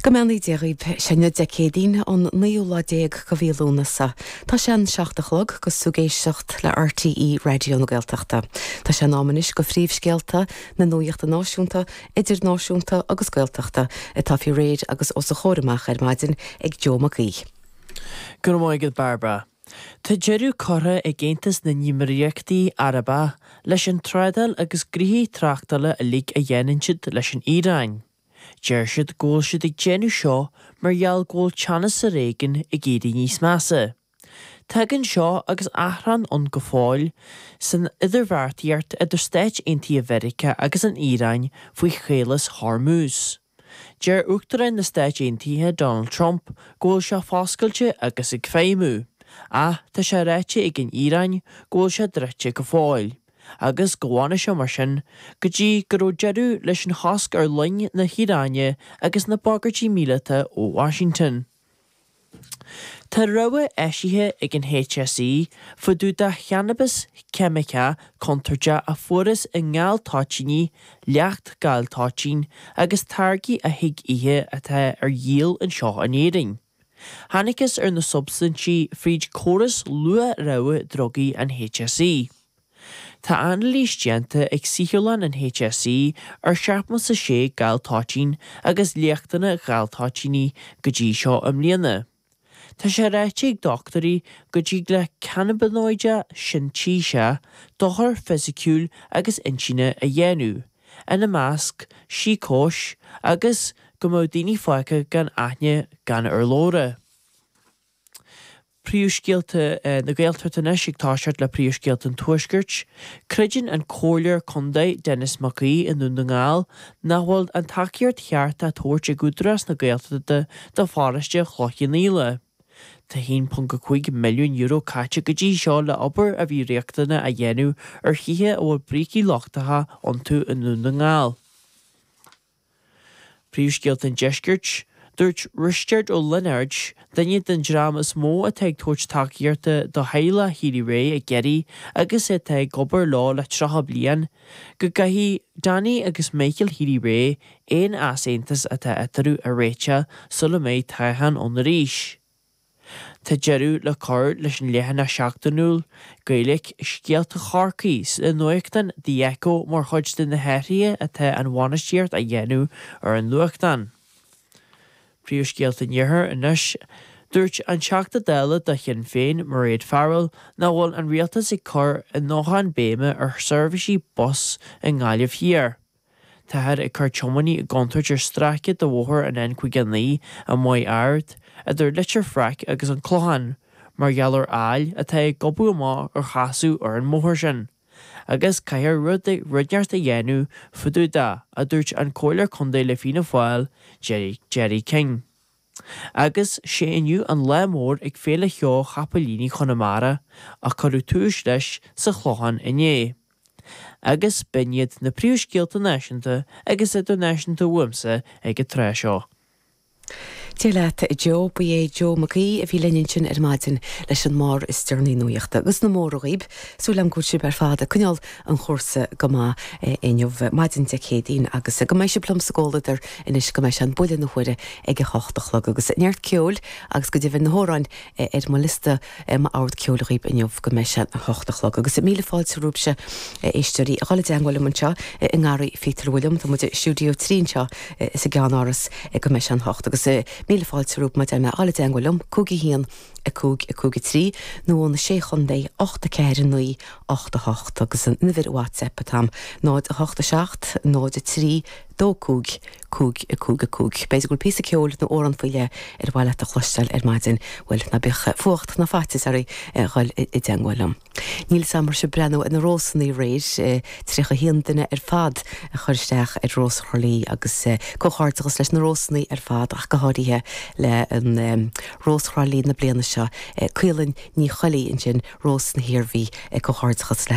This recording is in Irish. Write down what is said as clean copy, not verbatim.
Go mbeannaí Dia dhaoib. Sé inniu Dé Céadaoin, an naoú lá déag de mhí Lúnasa. Tá sé an 7 a chlog agus tú ag éisteacht le RTÉ Raidió na Gaeltachta. Tá sé in am anois do phríomhscéalta na nuachta náisiúnta, idirnáisiúnta agus Gaeltachta atá faoi réir agus os a chomhair amach ar maidin ag Joe Mac Aoidh. Go raibh maith agat Barbara. Tá deireadh curtha ag Aontas na nÉimíríochtaí Arabacha leis an trádáil agus gnoithí tráchtála uilig a dhéanann siad leis an Iaráin. Deir siad go bhfuil siad ag déanamh seo mar gheall go bhfuil teannas sa réigiún ag éirí níos measa. Tagann seo agus achrann ann go fóill san idirbheartaíocht idir Stáit Aontaithe Mheiriceá agus an Iaráin faoi Chaolas Hormuz. Deir Uachtarán na Stáit Aontaithe Donald Trump go bhfuil sé foscailte agus ag feidhmiú, ach tá sé ráite ag an Iaráin go bhfuil sé druidte go fóill. agus go bhfanfaidh sé mar sin go dtí go raibh deireadh leis an chosc ar loing na hIaráine agus na bagairtí míleata ó Washington. Tá rabhadh eisithe ag an HSE fá dtaobh de channabas ceimiceach contúirteach a fuarthas i ngal toitíní, leacht gal toitín agus táirgí a thig ithe atá ar dhíol anseo in Éirinn. Thángthas ar na substaintí fríd córas luath-rabhadh drugaí an HSE. Tá anailís déanta ag saotharlann an HSE ar 76 gal toitín agus léachtanna gal toitíní go dtí seo i mbliana. Tá sé ráite ag dochtúirí go dtig le cannabinóide sintéiseach dochar fisiciúil agus intinne a dhéanamh, ina measc, síocóis agus go mbeadh daoine fágtha gan aithne gan urlabhra. Príomhscéalta na Gaeltachta anois ag toiseacht le príomhscéalta an Tuaiscirt. Creideann an Comhairleoir Contae Denis Mac Aoidh i nDún na nGall nach bhfuil an tacaíocht cheart á tabhairt ag Údarás na Gaeltachta do pharóiste Chloich Cheann Fhaola. Tá €1.5 milliún caite go dtí seo le obair a bhí riachtanach a dhéanamh ar thithe a bhfuil brící lochtacha iontu i nDún na nGall. Príomhscéalta an Deiscirt, Dúirt Risteard Ó Lionáird, duine den dream is mó atá ag tabhairt tacaíochta do theaghlach Healy-Rae i gCiarraí agus atá ag obair leo le 30 bliain, go gcaithfidh Danny agus Michael Healy-Rae aon easaontas atá eatarthu a réiteach sula mbeidh toghchán ann arís. Tá deireadh le cur leis an leathanach seachtainiúil Gaeilge Scéalta Chorcaí sa nuachtán The Echo mar chuid de na hathruithe atá an bhainistíocht á dhéanamh ar an nuachtán. Príomhscéalta an Iarthair anois. Dúirt an Teachta Dála do Shinn Féin, Mairéad Farrell, nach bhfuil an rialtas ag cur a ndóthain béime ar sheirbhísí bus i nGaillimh Thiar. Táthar ag cur tiománaí i gcontúirt ar stráice de bhóthar an N59 i Maigh Ard, idir Leitir Fraic agus an Clochán, mar gheall ar aill atá ag gobadh amach ar chasadh ar an mbóthar sin. Agus caithfear rud inteacht a dhéanamh fá dtaobh de, a dúirt an Comhairleoir Contae le Fianna Fáil, Gerry King. Agus sé inniu an lá mór ag Féile Cheoil Chapaillíní Chonamara a cuireadh tús leis sa Chlochán inné. Agus b'in iad na príomhscéalta náisiúnta agus idirnáisiúnta uaimse ag an tráth seo. Dia leat a Joe. Ba é Joe Mac Aoidh a bhí linn ansin ar maidin leis an mbarr is deireanaí nuachta agus na móra dhaoib. Súil agam go bhfuil sibh ar fad ag coinneáil an chúrsa go maith inniu, maidin Dé Céadaoin, agus go mbeidh sibh liom sa gcomhluadar anois go mbeidh sé an buille na huaire ag a hocht a chlog. Agus neart ceoil agus go deimhin na hamhráin ar mo liosta m'ord ceoil dhaoib inniu go mbeidh sé a hocht a chlog. Agus míle fáilte romhaibhse, a éisteoirí, a dhul i dteangmháil liom anseo i nGarraí Phíotair Bhuilliam. Tá muid i Stiúideo 3 anseo sa gceannáras go mbeidh sé an hocht. Agus míle fáilte romhaibh mar a deir mé a dhul i dteangmháil liom, 5 1 5 5 3 nó ó na Sé Chontae 8 4 9 8 8 agus an uimhir WhatsApp atá a'm 0 8 7 0 3 2 5 5 5 5. B'fhéidir go bhfuil píosa ceoil nó amhrán faoi leith ar mhaith leat a chloisteáil ar maidin, bhuel, ná bíodh fuacht ná faitíos oraibh a dhul i dteangmháil liom. Níl 'fhios a'm an raibh sibh ag breathnú ar na rósannaí aréir, 31 duine ar fad a chuir isteach ar Rós Thrá Lí agus comhghairdeachas leis na rósannaí ar fad ach go háirithe le an Rós Thrá Lí na bliana seo, Caoilinn Ní Choilí ansin, Rós na hIarmhí, comhghairdeachas le.